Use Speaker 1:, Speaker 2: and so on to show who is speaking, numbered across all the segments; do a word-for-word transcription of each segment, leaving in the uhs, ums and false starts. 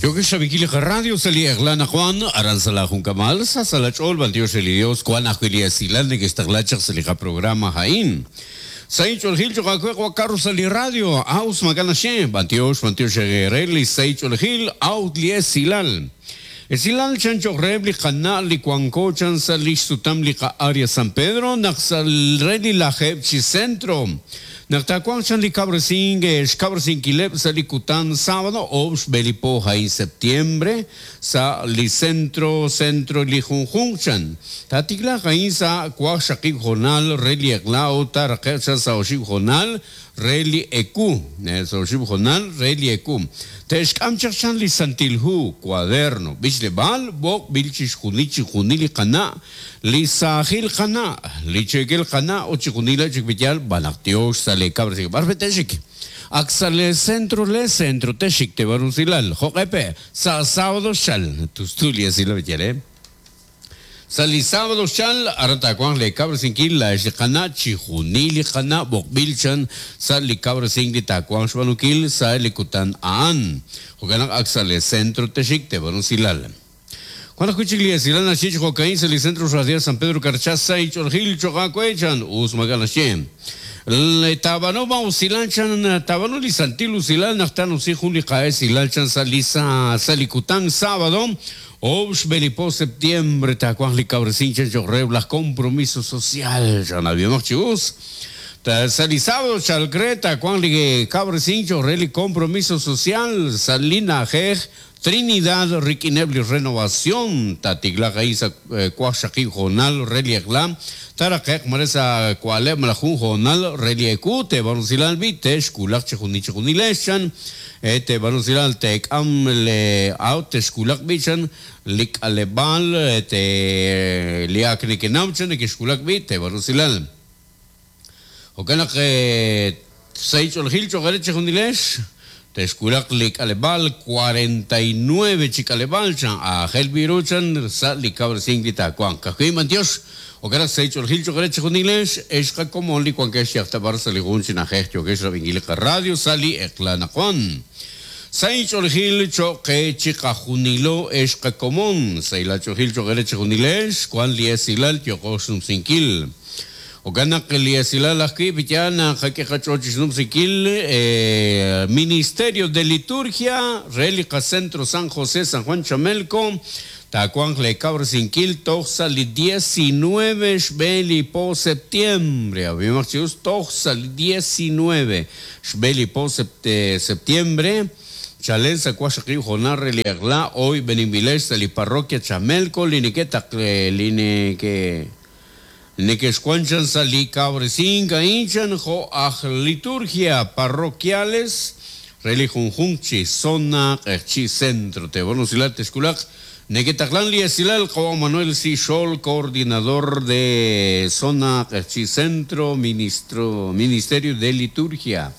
Speaker 1: Yokex rab'inkil li radio sa' li eq'la anaqwan aran sa' la junkamal sa' sa' la ch'ool b'antiox re li Dios wan ajwi' li esilal neke'xtaqla chaq sa' li qaprograma a'in. Sa' inch'oolejil cho'q aawe wa Carlos sa' li radio aus mak'a naxye b'antiox b'antiox re li sa' inch'oolejil out li esilal. Esilal chan cho'q reheb' li qana' li wanko chan sa' li xsutam li qa'área San Pedro naq sa' re li lajeeb' chi centro. Naq taawanq chan li kab'resink xkab'resinkileb' sa' li kutan sábado oob' xb'e li po a'in septiembre sa' li centro centro li junjunq chan. Taatiklaaq a'in sa' waqxaqib' jonal re li eq'la ut taaraqe'q chan sa' oxib' jonal re li ewu. Sa' oxib' jonal re li ewu. Te'xk'am chaq chan li Santil Hu, cuaderno, b'ichleb'aal, b'oqb'il chixjunil chixjunil li qana', li saajil qana', li cheekel qana' ut chixjunil chik b'iyal b'anaq tiox sa' le kab'resink b'ar texik. Ak sa' le centro le centro texik te barusilal. Jo'q'epe sa' sábado xal. Tustu li esilal b'iyal, eh? Sa' li sábado xal aran taawanq le kab'resinkil la li qana' chixjunil li qana' b'oqb'il chan sa' li kab'resink li taawanq xb'aanunkil sa' li kutan a'an. Jo'kan naq ak sa' le centro texik te barusilal. Wan ajwi' chik li esilal naxye chi jo'ka'in sa' li Centro Radial San Pedro Carchá sa' inch'oolejil cho'q aawe chan us mak'a naxye. Le taab'anu ma usilal chan taab'anu li santil usilal naq taanusi jun li qa'esilal chan sa' li sa' sa' li kutan sábado oob' xb'e li po septiembre taawanq li kab'resink chan cho'q reheb' laj compromiso social chan ab'imaq chi us. Ta sa' li sábado chalk re taawanq li kab'resink cho'q re li compromiso social sa' li na'ajej Trinidad rik'ineb' li renovación taatiklaaq a'in sa' waqxaqib' jonal re li eq'la taaraqe'q mare sa' kwa'leb' malaj jun jonal re li ewu teeb'anusilal b'i te'xkulaq chixjunil chixjunilex chan teeb'anusilal teek'am le aw te'xkulaq b'i chan li k'aleb'aal te li ak nekenaw chan neke'xkulaq b'i teeb'anusilal. Jo'kan naq sa' inch'oolejil cho'q re chixjunilex te'xkulaq li k'aleb'aal cuarenta y nueve chi k'aleb'aal chan aajel b'i ru chan sa' li kab'resink li taawanq. Ka'ajwi' b'antiox jo'kan naq sa' inch'oolejil cho'q re chixjunilex ex qakomon li wankex yajtab'ar sa' li jun chi na'ajej yokex rab'inkil li qaradio sa' li eq'la anaqwan. Sa' inch'oolejil cho'q qe chiqajunilo ex qakomon sa' ilach'oolejil cho'q re chixjunilex wan li esilal yoqo xnumsinkil. Jo'kan naq li esilal ajwi' b'iyal naq qak'e qach'ool chi xnumsinkil Ministerio de Liturgia re li qacentro San José San Juan Chamelco taawanq le kab'resinkil toj sa' li diecinueve xb'e li po septiembre. Ab'imaq chi us toj sa' li diecinueve xb'e li po septiembre. Chalen sa' waqxaqib' jonal re li eq'la hoy b'eninb'ilex sa' li parroquia Chamelco li neke'taq li neke neke'xwan chan sa' li kab'resink a'in chan jo' aj liturgia parroquiales re li junjunq chi zona q'eqchi centro teeb'anusilal texkulaq neke'taqlan li esilal qawa Manuel Sixol coordinador de zona q'eqchi centro ministro Ministerio de Liturgia.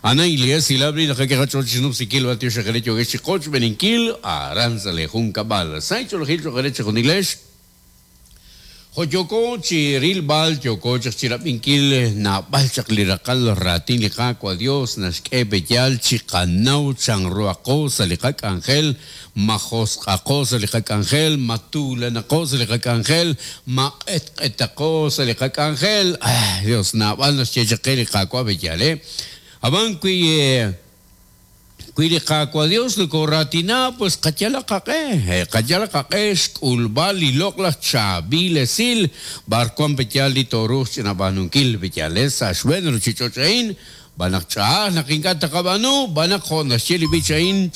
Speaker 1: Ana li esilal b'i naq qach'ool chi xnumsinkil b'antiox xeqere yokex chi qoch b'eninkil aran sa' li junkab'al. Sa' inch'oolejil cho'q re chixjunilex Joyoko chi rilb'al yoko chaq chi rab'inkil naab'al chaq li raqal raatin li Qaawa' Dios naxk'e b'eyal chi qanaw chanruaqo sa' li qak'anjel ma josq'aqo sa' li qak'anjel ma tuulanaqo sa' li qak'anjel ma q'etq'etaqo sa' li qak'anjel. Ay Dios naab'al naxye chaq qe li Qaawa' b'eyal, eh. Ab'an wi wi li Qaawa' Dios nokoratina pues qayalaq qaq'e, qayalaq qaq'e xk'ulb'al li loq'laj chaab'il esil b'ar wan b'eyal li tooruuq ch'inab'aanunkil b'eyal, eh, sa' xb'een ruchich'och' a'in b'anaq ch'a'aj naq ink'a' taqab'aanu b'anaq jo' naxye li b'ich a'in